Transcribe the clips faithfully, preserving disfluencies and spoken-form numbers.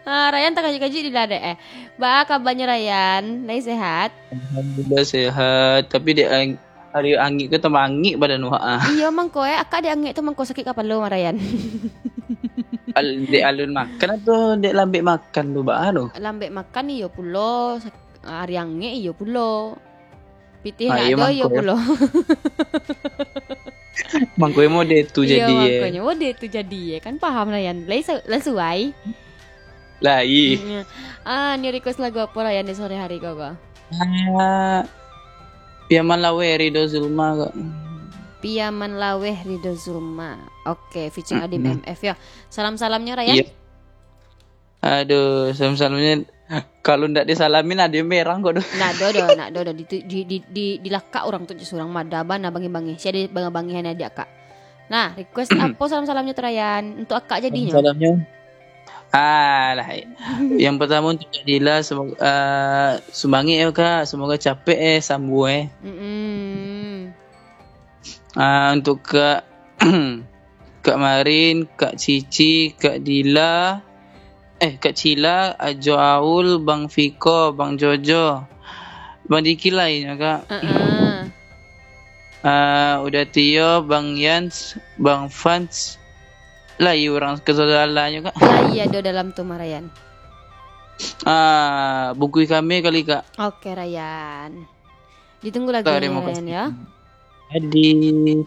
Ah, Rayan takajik-kajik di ladek eh. Baa kabanyo Rayan? Lai sehat? Alhamdulillah sehat. Tapi dek ang- hari angik ko tambah angik badan wak ah. Iyo mangko eh, akak dek angik tu mangko sakik kapalo mah Rayan. Al- dek alun makan atau dek lambek makan tu baa tu? Lambek makan iyo pulo, sak- hari angik iyo pulo. Pitih Ah, nak iyo ado iyo mangko eh. pulo. Mangko eh mode tu Iyo jadi eh. Mangkonyo mode tu jadi eh. Kan paham Rayan. Lai sa- lai suai. Lai. Mm-mm. Ah, new request lagu apo Rayan di sore hari ko ko? Ah, Piaman Laweh Ridho Zulma kak. Piaman Laweh Ridho Zulma. Oke, featuring Adim M F yo. Salam-salamnyo Rayan. Iya. Aduh, salam-salamnya kalau ndak disalamin ada yang merang kok doh. Nak do do, nak do do di di di, di, di lakak orang tu surang mada bana bangi-bangi. Si ada bangi-bangi hanya di akak. Nah, request apo salam-salamnyo tu Rayan? Untuk akak jadinyo. Salamnya. Ah, lah. Yang pertama untuk Kak Dila, semoga uh, sumbangi ya kak, semoga capek eh sambu eh. Mm-mm. Ah, untuk Kak Kak Marin, Kak Cici, Kak Dila, eh Kak Cila, Ajo Aul, Bang Fiko, Bang Jojo, Bang Diki lainnya kak. Uh-uh. Ah, udah Tio, Bang Yans, Bang Fans, lah iya orang kesaudaraannyo kak. Lah iya do dalam tu mah Rayan. Ah, bungkui kami kali kak. Oke Rayan. Ditunggu lagunya Terima Rayan kasih. Ya. Jadi,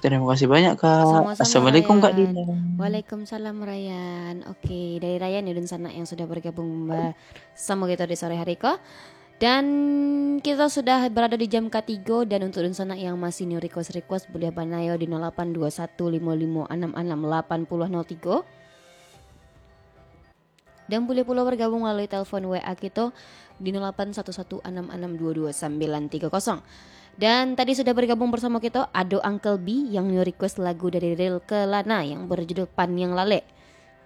terima kasih banyak kak. Sama-sama, Assalamualaikum kak Rayan. Dila. Waalaikumsalam Rayan. Oke, dari Rayan ya dunsanak yang sudah bergabung bersama kita di sore hari ko. Dan kita sudah berada di jam katigo dan untuk dunsanak yang masih new request-request boleh banayo di nol lapan dua satu limo limo anam anam lapan puluh nol tigo. Dan boleh pulo bergabung melalui telepon W A kita di nol lapan satu satu anam anam dua dua sambilan tiga kosong. Dan tadi sudah bergabung bersama kita ado Uncle B yang new request lagu dari Ril Kelana yang berjudul Paniang Lalek.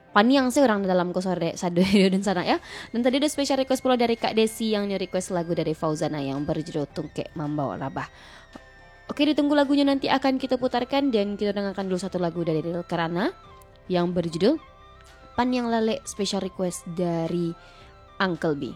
Paniang sih orang dalam kosor dek sado dan sana ya. Dan tadi ada special request pula dari Kak Desi yang new request lagu dari Fauzana yang berjudul Tungkek Mambawa Rabah. Oke, ditunggu lagunya nanti akan kita putarkan dan kita dengarkan dulu satu lagu dari Ril Kelana yang berjudul Paniang Lalek special request dari Uncle B.